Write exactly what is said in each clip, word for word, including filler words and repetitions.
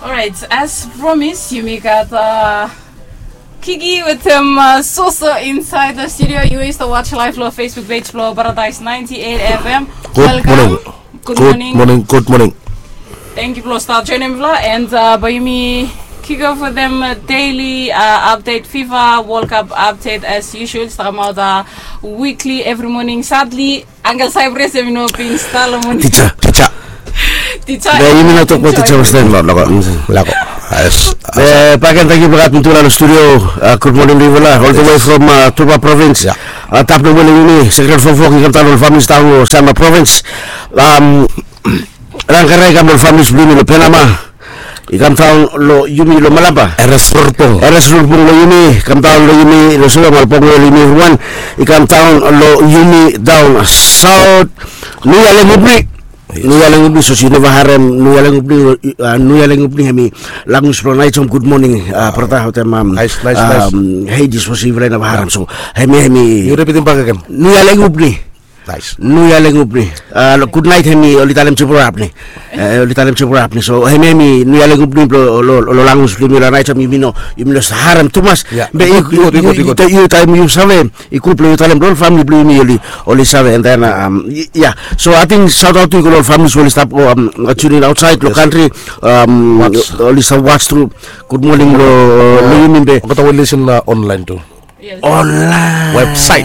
Alright, as promise, yumi gat uh, Kiki wetem uh, Soso inside the studio. Yu stap watch live lo Facebook page lo Paradise ninety-eight F M. Good morning. Good morning. Good morning. Thank you blo stap joining blo and uh, bae yumi kick off with them uh, daily uh, update, FIFA World Cup update as usual. Stap kamaot uh, weekly every morning. Sadly, Uncle Cyprus, em i no bin stalo mo. Tija, tija. Tija. Be yumi no tok about tija was then. Lako, lako. Yes. Be baken, tangkiu blo gat mi tufala lo studio. Uh, good morning, Rivola, all the way from uh, Tuba province. Yeah. Uh, tap no wele yumi, Secretary Fofok, i kam daon ol families daon lo Sama province. Um, Rangkara i kam lo families blo yumi lo Penama. I kam daon lo yumi lo Malaba. Eres Rurpung. Eres Rurpung lo yumi, kam daon lo yumi lo Suga Malpong lo yumi everyone. I kam daon lo yumi daon South. Nuia Lengupni. Nuia Lengupni, so yu neva harem Nuia Lengupni, uh, Nuia Lengupni hemi langus blo Naijom, good morning, uh, brata, wetem um, nice, nice, nice. Um, Hades, so yu neva harem, so hemi, hemi. Yu ripitim bak agen. Nuia Lengupni. Nice. Nuia Lengupni. Uh, lo good night hemi oli talem Jebura Apni. Uh, oli talem Jebura Apni. So hemi, hemi Nuia Lengupni blo lo, lo, lo langus blo yumi lo Naijom, yumi no, yumi no harem tumas. Yeah. Be i gud, i gud, i gud. Taem yu save, i gud blo yu talem lo ol famili blo yumi oli, oli save, and then um, yeah. So I think shout out to yu lo ol families we oli stap um, tuning outside lo country. Um, oli stap watch through. Good morning lo, lo yumi be. Olgeta we listen uh, online tu. Yes. Online. Website.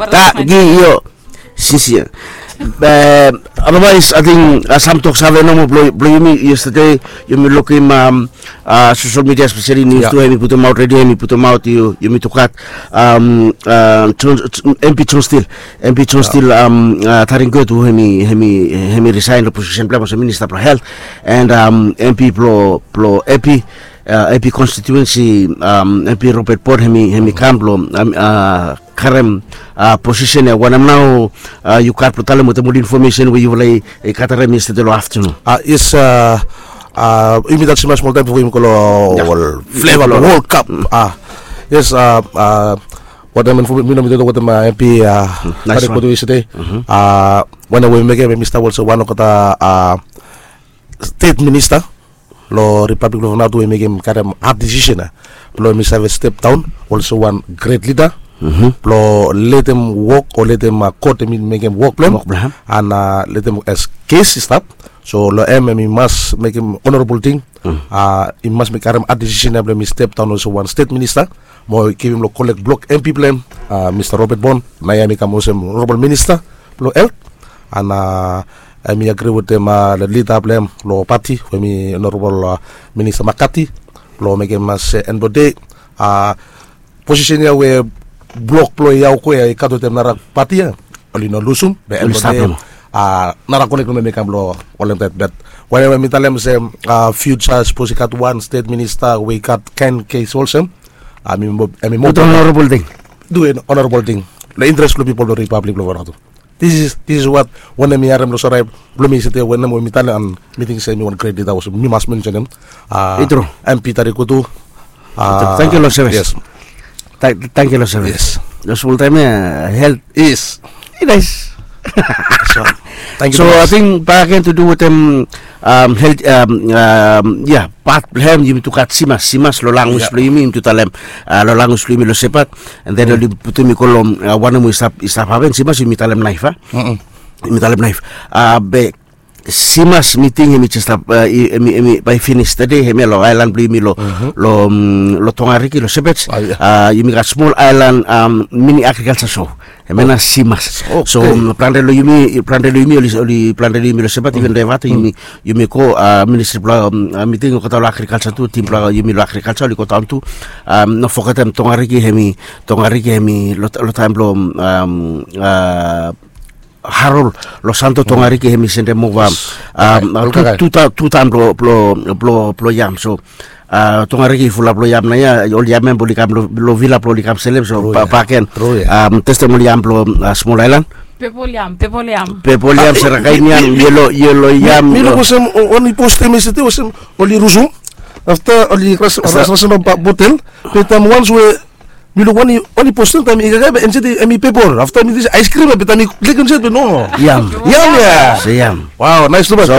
Tangki yu. Sinsia. Otherwise, I think uh, sam tok save nomo blo, blo yumi yesterday, yumi lukim um, uh, social media, especially news tu, hemi putum aot, radio hemi putum aot, yu, yumi tu gat um, uh, John, M P John Steele, M P John Steele, um, uh, Taringkot, hemi, hemi, hemi resign lo position blo hem olsem minista blo health, and um, M P blo, blo Epi, uh, Epi constituency, um, M P Robert Bot, hemi, hemi kam blo um, uh, karem uh, position ia. Wanem nao uh, yu gat blo talem wetem ol information we yufala i gatarem yesterday lo afternoon? Uh, yes, uh, uh, yumi talem smol taem bifo yumi go lo ol flavor blo World Cup. Uh, yes, uh, uh, wanem info mi no mi tok wetem uh, M P uh, nice one. Yesterday. Uh, wanem we i mekem, hemi stap olsem wan olgeta uh, state minister lo Republic blo Vanuatu, we i mekem karem hard decision ia blo hemi save step daon olsem wan great leader blo letem wok o letem uh, kot hemi mekem wok blo hem. Wok blo hem. And uh, letem as case i stap. So lo hem, hemi mas mekem honorable thing. Uh, i mas mekem karem hard decision ia blo hemi step daon olsem wan state minister. Mo givim lo kolek blok M P blo hem, uh, Mista Robert Bot, naoia hemi kam olsem honorable minister blo health. And uh, hemi agree wetem uh, the leader blo hem lo party, we hemi honorable uh, Minister McCarthy, blo mekem olsem end blo dei uh, position ia we blok blo Yaukwe ia i gat wetem nara party ia, oli no lusum. Be end blo dei uh, nara kolek nomo hemi kam blo holem dat. But wanem we mi talem olsem uh, future sapos i gat wan state minister we i gat kaen case olsem, uh, hemi mo, hemi mo honorable thing. Do an honorable thing lo interest blo pipol blo Republic blo Vanuatu. This is, this is what wanem mi harem lo sore blo mi yesterday, wanem we mi talem, and mi ting se hemi wan great leader, mi mas mention hem. Uh, i tru. M P Taringkot tu. Uh, tangkiu lo sevis. Yes. Tangkiu lo sevis. Yes. Lo smol taem ia health is i nais. So, tangkiu. So I think back again to do wetem um, health, um, um, yeah, pat blo hem, yumi tu gat Simas, Simas lo langus blo yumi, yumi tu talem uh, lo langus blo yumi lo Sepat. And then oli putum i go lo uh, wanem we i stap, i stap hapen, Simas, yumi talem naef a? Yumi talem naef. Uh, be Simas, mi ting hemi jes stap, uh, hemi, hemi bae finis tede, hemia lo aelan blo yumi lo, lo, um, lo Tongariki, lo Sepat. Uh, yumi gat smol aelan um, mini agriculture show. Hemia nao Simas. So um, plante lo yumi, plante lo yumi, oli, oli plante lo yumi lo Sepat, even Devata, yumi, yumi go uh, ministry blo um, uh, mi ting olgeta lo agriculture tu, tim blo yumi lo agriculture oli go daon tu. Um, no fogetem Tongariki, hemi, Tongariki hemi lo, lo taem blo um, uh, Harold Losanto, Tongariki hemi sendem ova um, tu, tu, tu taem blo, blo, blo, blo yam. So uh, Tongariki i fulap lo yam naoia, ol yam ia oli kam lo, lo vila blo oli kam selem. So baken um, testem ol yam blo uh, smol aelan. Pepol yam, pepol yam. Pepol yam, serakain yam, yelo, yelo yam. Mi luk olsem, o, oli postem yesterday olsem oli rusum. Afta oli ras, ras, ras, ras, botel. Be taem wans we mi luk wan i, wan i postem taem i kakae be insait hemi pepol. Afta mi ting se ice cream ia, be taem mi klik insait be no. Yam. Yam ia. Se yam. Wow, nice tumas. So,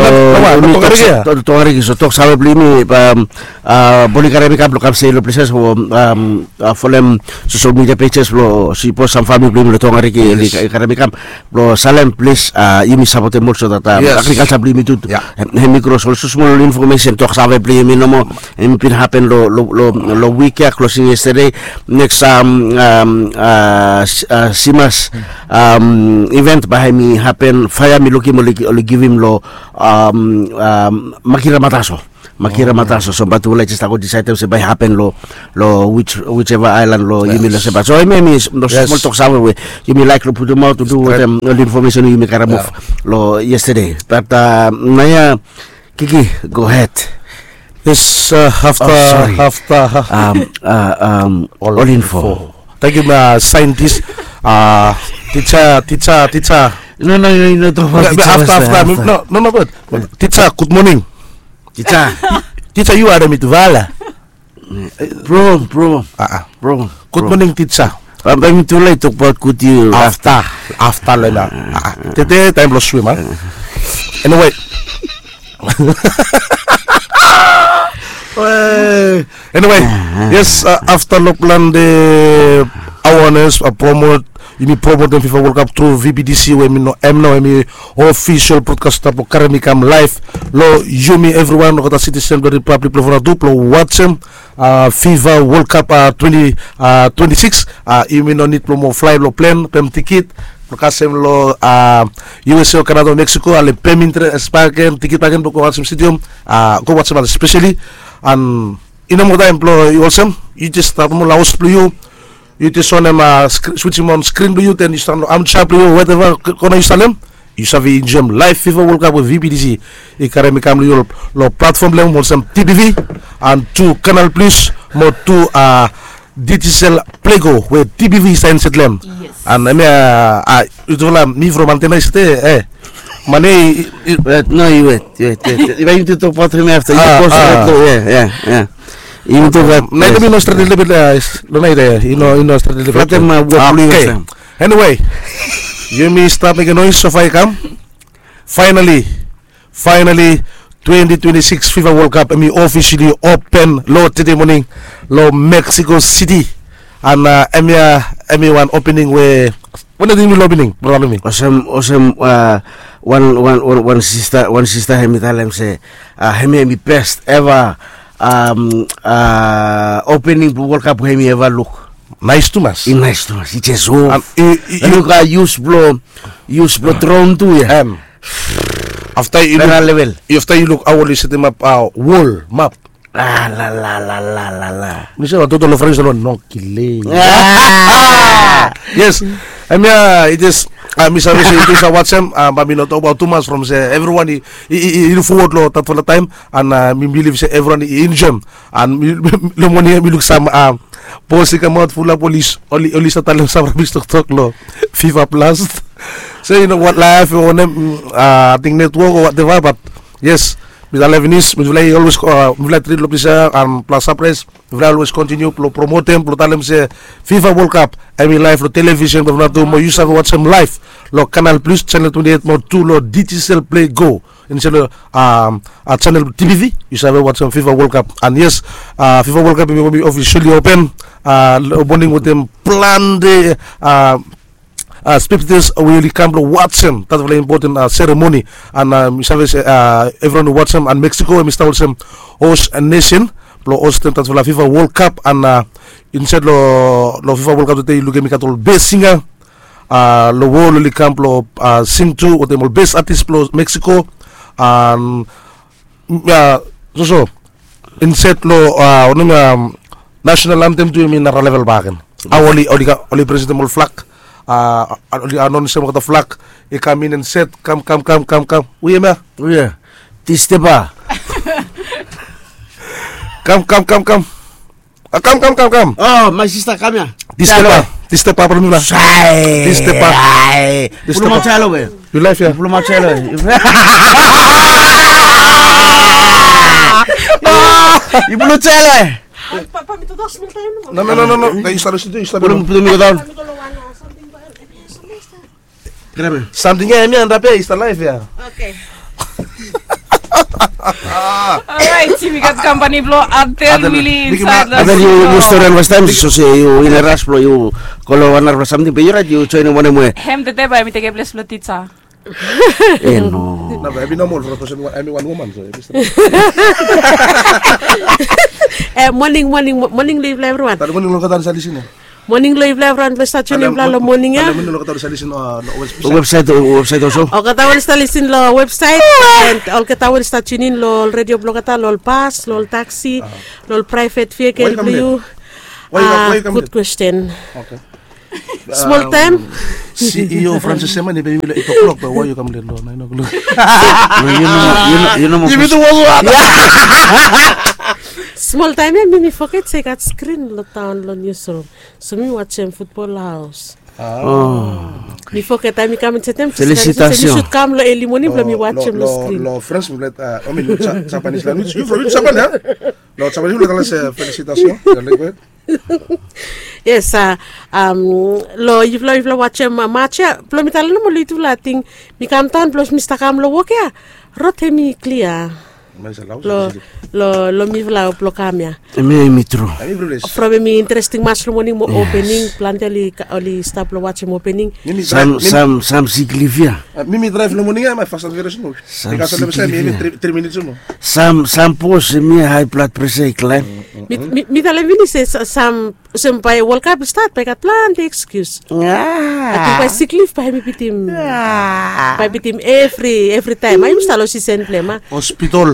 tongariki, so tok save blong yumi, um, uh, boni karem i kam blong kam stei long places o, um, uh, folem social media pages blong sipos sam famili blong yumi long tongariki, yes, i karem i kam blong salem, plis, uh, yumi sapotem olso dat, um, yes, agrikalsa blong yumi tu, yeah, hem i gro. So olso smol infomesen, tok save blong yumi nomo, hem i bin hapen long, long, long, long wik ya klosing yestede. Neks, um, um, uh, simas, um, event bae hem i hapen, faea mi lukim oli, oli givim long, um, um, Makira Mataso. Makira Mataso. So bat ula i jes stap go disaed se bae i hapen long, long which, whichever island long yumi long Septemba. So hem i, hem i smol tok save we yumi laek long putumaot tu wetem ol infomesen we yumi karem of long yestede. Bat, uh, naoia, Kiki, go ahed. Yes, uh, afta, afta, um, uh, um, ol info. Tangkiu, uh, saentis, uh, tija, tija, tija. No, no, no, no, tokbaot tija. Afta, afta. No, no, no, gud. Tija, gud moning. Tija. Tija, yu harem mi tu vala. Bro, bro. Bro. Gud moning, tija. Bae mi tu lae tokbaot gud yu afta. Afta, afta long ya. Tede taem blong swim, a? Anyway. Anyway, yes, uh, afta long plante awareness, uh, promote, yumi promotem FIFA World Cup tru VBTC we hem i no, hem nao hem i ofisol brodkasta blong karem i kam laev long yumi evriwan olgeta sitisen blong Ripablik blong Vanuatu blong wajem, uh, FIFA World Cup, uh, twenty, uh, twenty-six. Uh, yumi no nid blong mo flae long plen, pem tikit blong kasem long, uh, USA o Kanada o Meksiko, ale pem intres bakegen, tikit bakegen blong go wajem stadium, uh, go wajem, espeseli. An i no moa taem blong yu olsem, yu jes stap nomo long haos blong yu, yu jes onem, uh, switsim on skrin blong yu, den yu stap long amja blong yu, whatever kona yu stap long hem, yu save enjoem laev FIFA World Cup we VBTC i karem i kam long yu long platfom blong hem olsem TBV, an tu Canal Plus, mo tu, uh, Digicel Play Go we TBV i save enjoem long hem. Yes. An hemia, uh, uh, yutufala mi from antena i stap, eh. Mane i, i, wet, no, yu wet, yu wet, yu wet. Bae yumi tu tokbaot hemia afta. Yu pos, wet, long, ya, ya, ya. Yumi tokbaot, naet i no stret lelebet, long naet ya, i no, i no stret lelebet. Flatem, uh, wok blong yu. Anyway, yumi stap mekem noes, sofa i kam. Finally, finally, twenty twenty-six FIFA World Cup hem i officially open long tede moning long Mexico City. An, uh, hemia, hem i wan opening we, wanem ting i min long opening, brata blong mi? Olsem, olsem, uh, wan, wan, wan, wan sista, wan sista hem i talem se, uh, hemia hem i best ever, um, uh, opening blong World Cup we hem i eva luk. Naes tumas. I naes tumas. I jes, o. An i, i, i luk, uh, yus blong, yus blong dron tu ya. Em. Afta yu luk, afta yu luk hao oli setemap, uh, wol map. Ah, la, la, la, la, la, la. Mi se wan toto long French, no, no kile. Ah! Yes. Hemia, i jes, uh, mi save se yutufala i wajem, uh, bae mi no tokbaot tumas from se evriwan i, i, i, i luk fowod long datfala taem, an, uh, mi bilif se evriwan i enjoem. An mi, long moning ya mi luk sam, uh, pos i kamaot, fulap oli, oli, oli stap talem sam rabis toktok long FIFA Plus. Se i no gat laef o wanem, mm, uh, ating netwok o whatever, bat yes, mifala finis, mifala i olwes, uh, mifala trit long ples ya, an plas sapraes, mifala olwes kontiniu blong promotem, blong talem se FIFA World Cup hem i laev long televisen blong Vanuatu, mo yu save wajem laev long Canal Plus, channel twenty-eight, mo tu long Digicel Play Go. Insaed long, um, uh, channel TBV, yu save wajem FIFA World Cup. An yes, uh, FIFA World Cup hem i officially open, uh, long moning wetem plante, uh, uh, spectators we oli kam blong wajem datfala impoten, uh, seremoni. An, uh, mi save se, uh, evriwan i wajem, an Mexico hem i stap olsem host nation blong hostem datfala FIFA World Cup. An, uh, insaed long, long FIFA World Cup tede yu lukim i gat ol best singer, uh, long wol oli kam blong, uh, sing tu wetem ol best artist blong Mexico. An, mm, uh, soso insaed long, uh, wanem, um, national anthem tu hem i nara level bakegen. Hao oli, oli presentem ol flag, uh, oli anonesem olgeta flag i kam in, insaed, kam, kam, kam, kam, kam. Hu hemia? Hu ya? Tistepa. Kam, kam, kam, kam. Ah, kam, kam, kam, kam. Oh, my sister, kam ya. Tistepa. Tistepa, papa blong mi la. Tistepa. Tistepa. Yu laef ya? Yu blu maot ya lo we. Yu blu maot ya lo we. Yu blu maot ya lo we. No, no, no, no, no. Yu stap, yu stap, yu stap. Put mi go down. Samting ya, hemia antap ya, i stap laef ya. Okay. Orait, yumi gat kampani blong Adel Mili insaed long Adel, yu, yu stori wan fastaem, so se yu in a rush blong yu go long wan narafala samting, be yu orait, yu joinim wanem we? Hem tete bae mi tekem ples blong tisa. E no. Nao bae hemi nomol from sapos hemi wan woman, so hemi stap. E, moning, moning, moning long yufala evriwan. Moning long olgeta we oli save lisin ya. Moning long yufala evriwan we oli save tiunin long moning ya. Moning long olgeta we oli save lisin long websaet. Websaet, websaet olso. Olgeta we oli save lisin long websaet, and olgeta we oli save tiunin long ol redio blong olgeta, long ol bas, long ol taksi, long ol praevet vehikel blong yu. Gud kwesten. Smol taem. CEO Francis Seman i pem yumi long eight o'clock, be why yu kam let long nine o'clock? Yu no, yu no, yu no. Smol taem ya mi, mi foget se i gat skrin long taon long niusrum. So mi wajem futbol long haos. Mi foget taem mi kam insaed ya mi jes, mi sud kam long eli moning blong mi wajem long skrin. Long French mi let, I mean, Japanese language. Yu from Japan ya? Long Japanese mi let, let's say, felicitación. Yes, a, long yufala, yufala wajem mats ya, blong mi talem nomo long yufala, ating mi kam daon blong mi stap kam long wok ya, rod hemi klia long, long mifala blong kam ya. Hemia hemi tru. From hemi interesting mats long moning mo opening, plante oli stap blong wajem opening. Sam, sam, sam siklif ya. Mi, mi draev long moning ya, hemia fas and furious nomo. Bikos long hemia hemi tri minits nomo. Sam, sam bos hemia hae blad presa i klaem. Mi, mi talem finis se sam, olsem bae World Cup i stat bae i gat plante ekskius. Ating bae siklif bae hemi bitim, bae bitim evri, evri taem. Yumi stap long sisen blong hem. Hospital.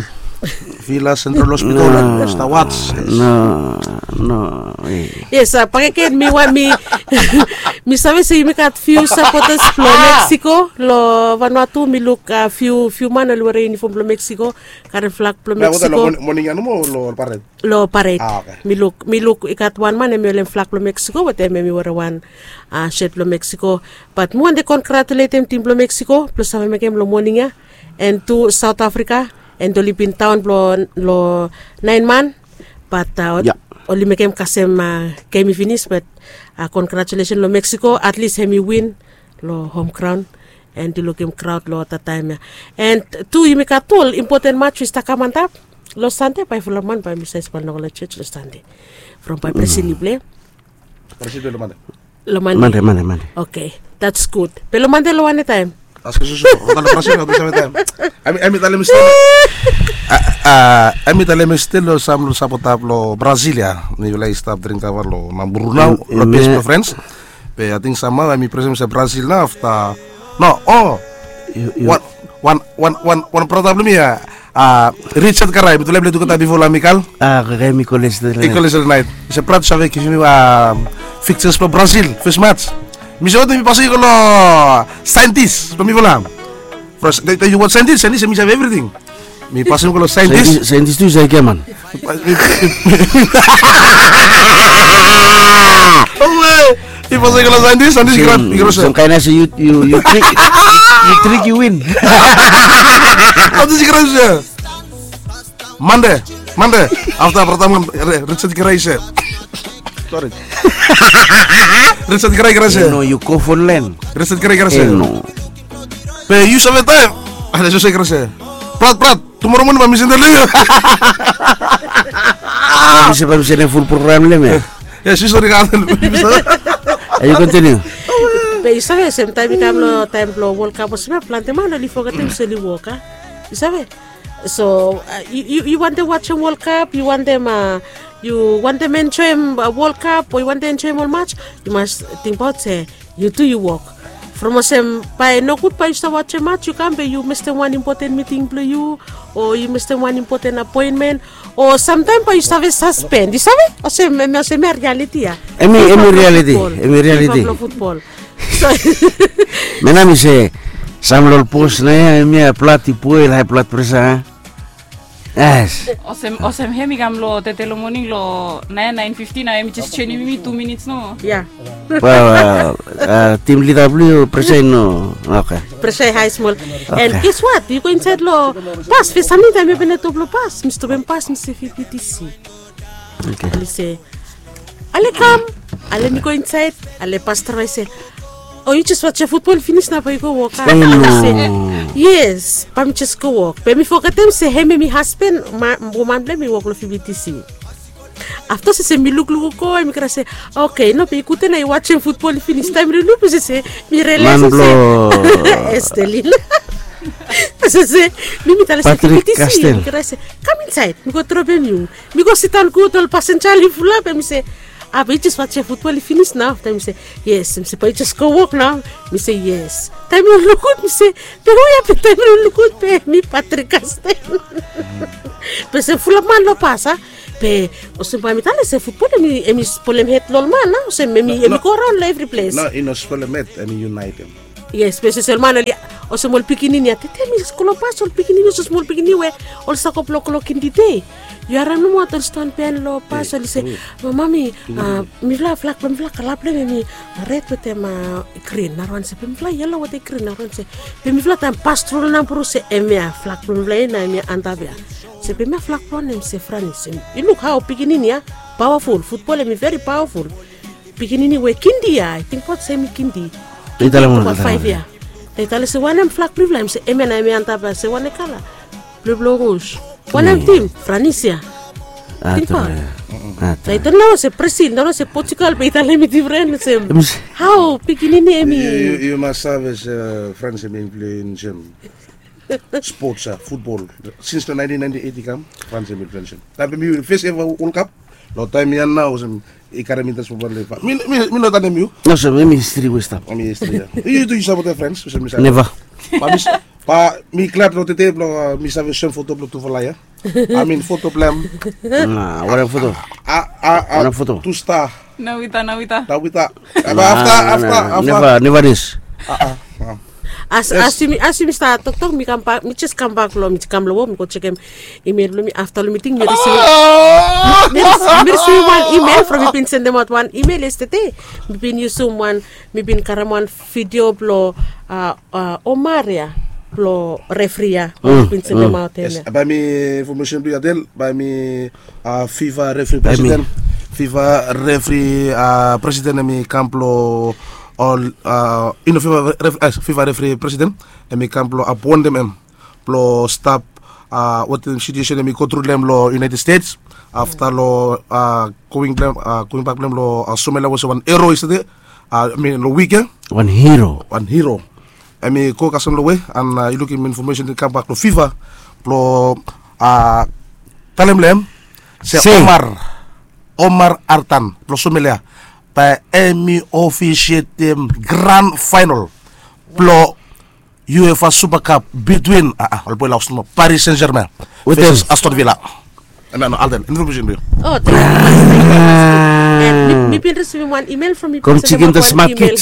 Villa Central Hospital. Stap wats. No, no. Yes, bakegen mi wan, mi, mi save se yumi gat fiu sapotas blong Mexico long Vanuatu. Mi luk fiu, fiu man oli werem iunifom blong Mexico, karem flag blong Mexico. Moning ya nomo long pared? Long pared. Mi luk, mi luk i gat wan man hemi holem flag blong Mexico wetem, hemi werem wan shet blong Mexico. Bat mi wantem kongratuletem tim blong Mexico blong save mekem long moning ya. And tu South Africa, and oli bin daon blong, long naen man, bat oli mekem kasem gem i finis, bat congratulations long Mexico, at least hemi win long home ground. And yu lukim kraod long olgeta taem ya. And tu yumi gat tu ol impoten mats we i stap kam antap. Long Sande bae fulap man bae mi save span long ol jos long Sande. From bae Brazil i plei. Brazil i plei long Mande. Long Mande. Mande, Mande, Mande. Okay, that's good. Be long Mande long wanem taem? Askem susu. Olgeta long Brazil, olgeta long taem. Hemi talem stil. Hemi talem stil long sam long sapota blong Brazil ya. Mifala i stap dring kava long Nambour nao, long bes blong Frans. Be ating samhao hemi presem se Brazil nao afta. No, o. Wan, wan, wan, wan brata blong mi ya. Richard Karai, mi tu lae mi lae tugeta bifo long Amikal. A, Karai mi koles tu lae. I koles tu lae naet. Mi se, "Brat, yu save givim mi fixtures blong Brazil fes mats?" Mi se, "Wetem, mi pasem yu go long saentis blong mifala." From, yu watch saentis, saentis hemi save evriting. Mi pasem yu go long saentis. Saentis tu i save giaman. Mi pasem yu go long saentis, saentis i krai, i krai. Sam kaen se yu, yu, yu trik, yu trik, yu win. Saentis i krai se Mande, Mande. Afta brata man, Richard Grace. Sori. Richard Grace. No, yu go fon len. Richard Grace. No. Be yu save taem. Ale, yu save Grace. Brat, brat. Tumoro moning bae mi sendem long yu. Bae mi se, bae mi sendem ful program long hem ya. Yes, yu sori, gat. Yu kontiniu. Be yu save olsem taem i kam long taem blong World Cup olsem ya, plante man oli fogetem se oli wok, a? Yu save? So yu, yu wantem wajem World Cup, yu wantem, yu wantem enjoem World Cup, o yu wantem enjoem ol mats, yu mas tingbaot se yu tu yu wok. From olsem bae nogud bae yu stap wajem mats, yu kam be yu mestem wan impoten miting blong yu, o yu mestem wan impoten apoenmen, o samtaem bae yu save saspen, yu save? Olsem, hemia, hemia rialiti ya. Hemi, hemi rialiti, hemi rialiti. Blong futbol. Menam i se, sam long ol bos nao ya, hemia blad i boel, hae blad presa, a? Yes. Olsem, olsem hem i kam long tete long moning long naen, naen fifti nao, hemi jes joenem yumi tu minits nomo. Ya. Tim lida blong yu presen nomo. Okay. Presen hae smol. And guess what? Yu go insaed long bas, fes samting taem mi openem doa blong bas, mi stopem bas, mi se V P T C. Okay. Oli se, ale kam, ale mi go insaed, ale bas draeva i se, O yu jes wajem futbol finis nao bae yu go wok. Yes, bae mi jes go wok. Be mi fogetem se hem hemi hasben, woman blong hem i wok long fibitisi. Afta se mi lukluk go, mi krai se, oke, no, be i gud nao yu wajem futbol finis. Taem mi lukluk se mi realaes se Estelin. Se mi mi talem se fibitisi, mi krai se kam insaed, mi go dropem yu. Mi go sidaon gud, ol pasenja oli fulap. Be mi se, a, be yu jes wajem futbol finis nao? Afta mi se, yes. Mi se, bae yu jes go wok nao? Mi se, yes. Taem mi luk gud, mi se, be hu ya be? Taem mi luk gud, be mi Patrick Castel. Be se fulap man long bas a. Be olsem bae mi talem se futbol hemi spolem hed long ol man a, olsem hemi go raon long evri ples. No, i no spolem hed, hemi yunaetem. Yes, be se ol man oli, olsem ol pikinini ya, tete mi go long bas, ol pikinini, olsem ol pikinini we oli stap go blong kindi dei. Yu harem nomo ol ston pen long bas, oli se, mami, mifala, flag blong mifala, kala blong hem hemi red wetem grin. Narawan se, be mifala yelo wetem grin. Narawan se, be mifala taem pas tru long Nauru se hemia flag blong mifala ya nao hemia antap ya. Se be hemia flag blong wanem? Se Franis. Yu luk hao pikinini ya pawaful, futbol hemi veri pawaful. Pikinini we kindi ya, ating baot se hemi kindi. Tingbaot faef ya. Taem i talem se wanem flag blong yufala? Hem se hemia nao hemi antap ya. Se wanem kala? Blue, blue, rouge. Wanem tim? Franis ya. Tingbaot. Taem i talem nao se Brazil, nao se Portugal, be i talem hemi difren. Se hao pikinini hemi. Yu mas save se Frans hemi influensem spots ya, futbol. Sins long naentin naenti eit i kam, Frans hemi influensem. Taem hemi fes eva World Cup, long taem ya nao olsem i karem intres blong ol. Mi no tanem yu. No, olsem hemi histri we i stap. Hemi histri ya. Yu tu yu sapotem Frans olsem mi save? Neva. Ba mi glad long tede blong mi save soem foto blong tufala ya. I mean foto blong hem. Wanem foto? Wanem foto? Tu sta. Nawita, nawita. Nawita. Afta, afta, afta. Neva, neva dis. As, as yumi stap toktok, mi kambak, mi jes kambak long, mi kam long wok, mi go jekem email blong mi afta long miting. Mi risivim wan email from, mi bin sendemaot wan email yestede. Mi bin yusum wan, mi bin karem wan vidio blong Omar ya, blong refri ya, mi bin sendemaot hem ya. Bae mi infomesen blong yu Adel, bae mi FIFA refri presiden. FIFA refri presiden hemi kam blong ol, i no, FIFA refri presiden hemi kam blong apoentem hem blong stap wetem situesen hemi go tru long hem long United States. Afta long going bak blong hem long Somalia, was wan hero yestede. I mean long wik ya. Wan hero. Wan hero. Hemi go kasem long we, and yu lukim infomesen i kambak long FIFA blong talem long hem se Omar, Omar Artan blong Somalia, bae hemi ofisietem gran faenol blong UEFA Super Cup between, ol boe long haos nomo, Paris Saint-Germain wetem Aston Villa. Hemia nao Alden, infomesen blong yu. O, tangkiu. Mi bin risivim wan email from, mi bin sendemaot wan email.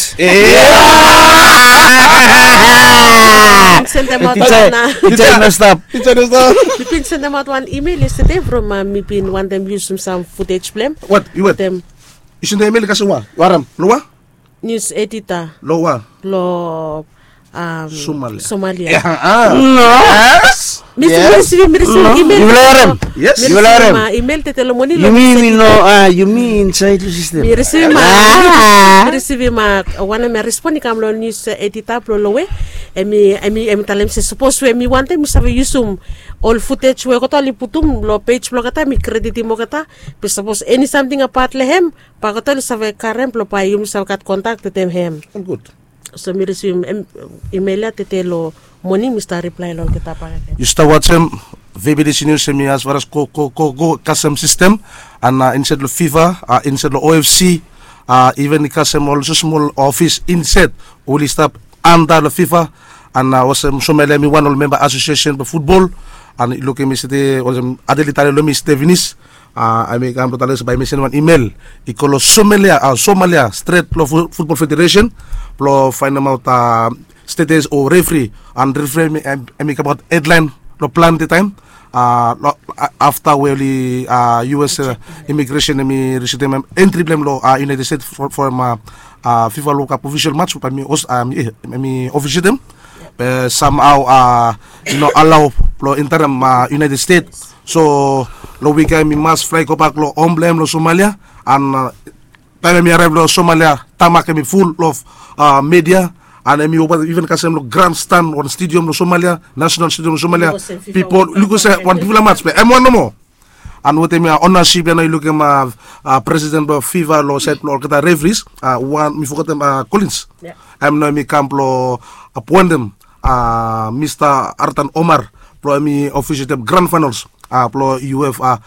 Mi bin sendemaot wan email yestede from, mi bin wantem yusum sam footage blong hem. Wat yu wantem? Yu sendemaot email i kasem wa? Yu harem long wa? Nius edita. Long wa? Long Somalia. Somalia. No. Mi risivim, mi risivim email. Yu harem? Yes. Mi risivim email tede long moning. Yumi, yumi no, yumi insaed long sistem. Mi risivim, mi risivim wanem ya, respon i kam long nius edita blong Lowe. Hemi, hemi talem se sapos we mi wantem, mi save yusum ol footage we olgeta oli putum long pej blong olgeta, mi kreditim olgeta. Be sapos eni samting abaot long hem, bae olgeta oli save karem blong bae yumi save gat kontak wetem hem. Gud. So mi risivim email ya tede long moning, mi stap riplae long olgeta bakegen. Yu stap wajem VBTC News, hemi as far as go, go, go, go kasem sistem, and insaed long FIFA, insaed long OFC, iven i kasem ol smosmol ofis insaed oli stap anda long FIFA, and olsem Somalia hemi wan ol memba asosiesen blong futbol, and yu lukim yestede olsem Adel i talem long mi yestede finis. Hemi kam blong talem se bae hemi sendem wan email i go long Somalia, Somalia stret long Futbol Federesen blong faenemaot status o refri, and refri hemi kamaot hedlaen long plante taem afta we oli, US imigresen hemi rejektem hem entri blong hem long United States from FIFA World Cup ofisial match bae hemi ofisietem. Be samhao i no alao blong enterem United States. So long wik ya hemi mas flae gobak long hom blong hem long Somalia, and taem hemi araev long Somalia tamak hemi ful of media. An hemi oba iven kasem long granstan wan stedium long Somalia, nasenal stedium long Somalia. Pipol lukim olsem wan bigfala mats be em wan nomo. An wetem ya onasip ya nao yu lukim presiden blong fifa long saed blong olgeta referis, wan mi fogetem, Kolins. Em nao hemi kam blong apoentem Mista Artan Omar blong hemi ofisietem gran faenals blong uefa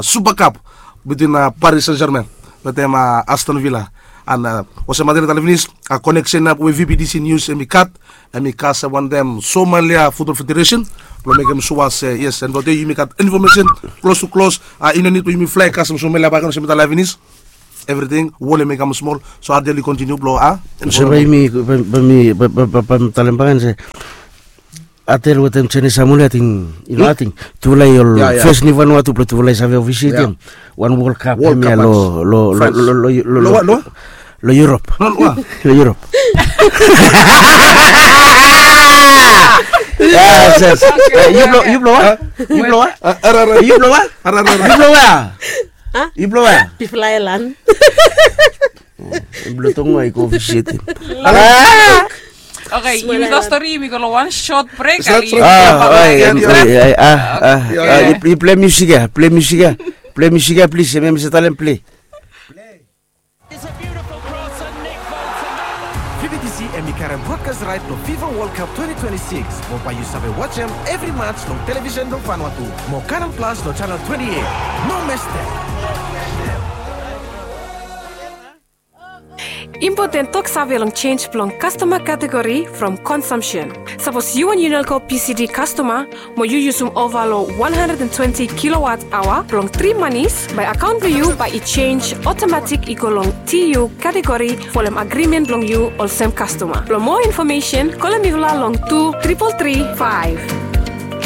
supakap bitwin Paris Saint Germain wetem Aston Villa. An olsem matin ya tale finis, koneksen ya we vptc nius hemi gat, hemi kasem wantem Somalia Futbol Federesen blong mekem sua se yes, en blong dei yumi gat infomesen klos tu klos. I no nid blong yumi flae kasem Somalia baken olsem mi tale finis. Evriting wol hemi kam smol. So adel i kontiniu blong a. So bae mi bae mi bae mi talem baken se adel wetem Chinese Samoa, ating i no ating tufala i ol fes ni Vanuatu blong tufala i save ofisietem wan World Cup hemia long long long long Europe. Long Europe. Yes, yes. Yu blong yu blong wa? Yu blong wa? Yu blong wa? Yu blong wa? Yu blong wa? Pipol aelan. Yu blong tongo wa i go ofisietem. Okay, yumi stap stori, yumi go long wan sot brek. Yu plei musik ya, plei musik ya, plei musik ya plis, em ya mi save talem plei. Vptc hemi karem brodkas raet blong fifa World Cup twenty twenty-six. Mo bae yu save wajem evri mats long televisen blong Vanuatu mo Canal Plus long chanel twenty-eight. No mestem. Impoten toksave long jenj blong kastoma kategori from konsumsen. Sapos yu wan Unelco PCD kastoma mo yu yusum ova long one hundred and twenty kilowatt aoa blong tri manis, bae akaon blong yu bae i jenj otomatik i go long TU kategori folem agrimen blong yu olsem kastoma. Blong moa infomesen kolem mifala long tu tripol tri faef.